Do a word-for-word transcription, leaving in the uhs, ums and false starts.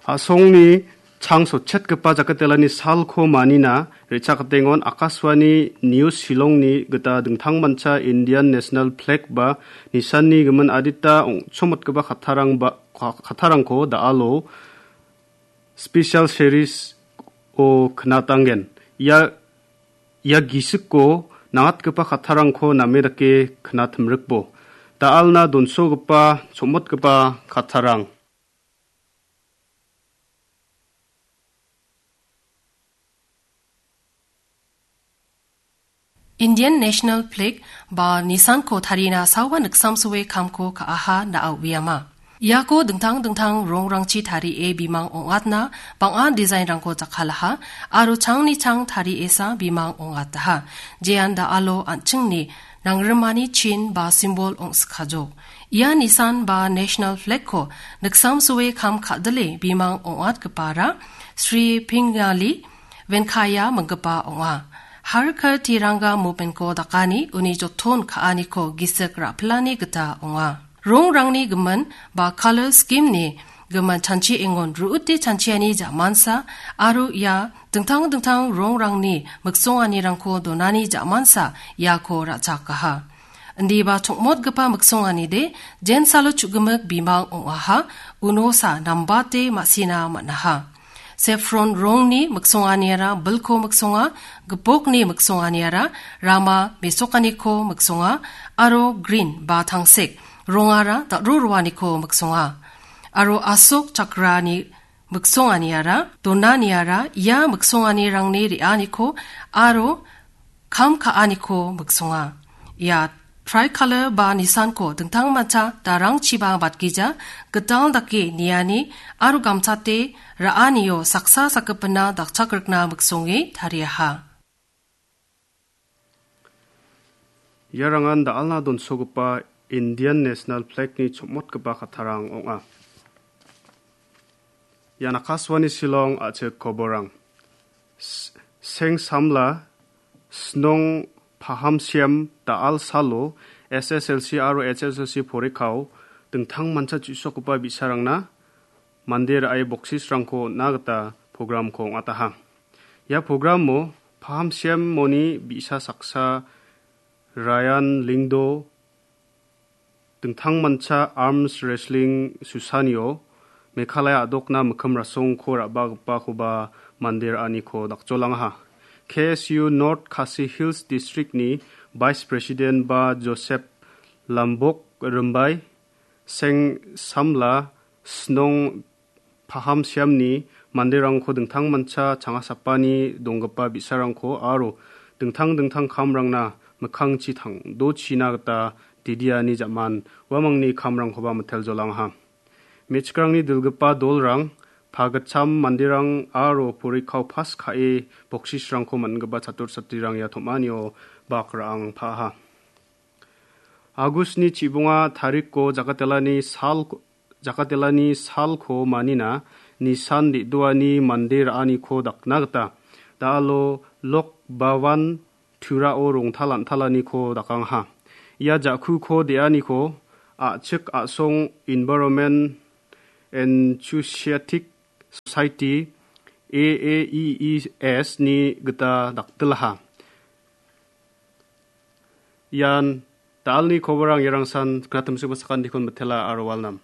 A·songni chang sotchetgipa jakatelani salko manina re·chakatengon Akashvani News Shillongni gita dingtangmancha Indian National Flag ba nisanni gimin adita ong·chomotgipa kattarangba, ka-, kattarangko da·alo Special Series-o knatanggen. Ia, ia gisikko nangatgipa kattarangko name dake knatimrikbo. Da·alna donsogipa, chomotgipa kattarang. Indian National Flag ba nisanko tarina sawa niksamsoe kamko ka·aha na·a uiama. Iako dingtang dingtang rongrangchi tarie bimang ong·atna bang·a dijainrangko jakkalaha aro changni chang tariesa bimang ong·ataha. Jean da·alo an·chingni nangrimani chin ba simbol ong·sikajok. Ia nisan ba National Flag-ko niksamsoe kam ka·dile bimang ong·atgipara Sri Pingali Venkaya minggipa ong·a. Har Ghar Tiranga movement-ko dakani uni joton ka·aniko gisik ra·pilani gita ong·a. Rongrangni gimin ba color scheme-ni gimin chanchiengon ru·ute chanchiani ja·mansa aro ia dingtang dingtang rongrangni miksonganirangko donani ja·mansa iako ra·chakaha. Indiba chongmotgipa miksonganide jensalo chu·gimik bimang ong·aha, unosa nambate ma·sina man·aha. Saffron rongni miksonganiara bilko miksonga, gipokni miksonganiara rama mesokaniko miksonga, aro green ba tangsek rongara da·ro roaniko miksonga. Aro asok chakrani miksonganiara, donaniara ia miksonganirangni re·aniko aro kam ka·aniko miksonga. Ia tricolor ba nisanko dingtangmancha darangchiba batgija, gital dake niani aro gamchate ra·anio saksa sakgipinna dakchakrikna miksonge tariaha. Iarangan da·alna donsogipa Indian National Flag-ni chomotgipa kattarang ong·a. Ian Akashvani Shillong a·chik koborang. S-, Seng Samla, Snong Pahamsiam da·al salo S S L C aro H S L C porikao dingtangmancha chu·sokgipa bi·sarangna mande ra·e boksisrangko on·na gita programko ong·ataha. Ia programo Pahamsiamoni bi·sa saksa Ryan Lingdo dingtangmancha arms wrestling susanio Meghalaya a·dokna mikkim rasongko ra·bagipakoba mande ra·aniko dakjolangaha. K S U North Khasi Hills District-ni Vice President ba Joseph Lambok Rimbai, Seng Samla, Snong Pahamsiamni manderangko dingtangmancha changasapani donggipa bi·sarangko aro dingtang dingtang kamrangna mikkangchi tangdochina gita didiani ja·man uamangni kamrangkoba miteljolangaha. Me·chikrangni dilgipa dolrang, pagitcham manderang aro porikao pas ka·e boksisrangko man·gipa chatur chatrirang ia tom·anio bak ra·ang pa·aha. Agustni chibonga tarikko jakatelani sal, jakatelani salko manina nisan de·doani mande ra·aniko dakna gita da·alo Lok Bhavan Turao rongtal an·talaniko dakangaha. Ia ja·kuko de·aniko a·chik a·song Environment Enthusiastic Society, A A E E S, ni gita daktilaha. Ian da·alni koborang iarangsan knatimsiba sakantikon mitela aro walnam.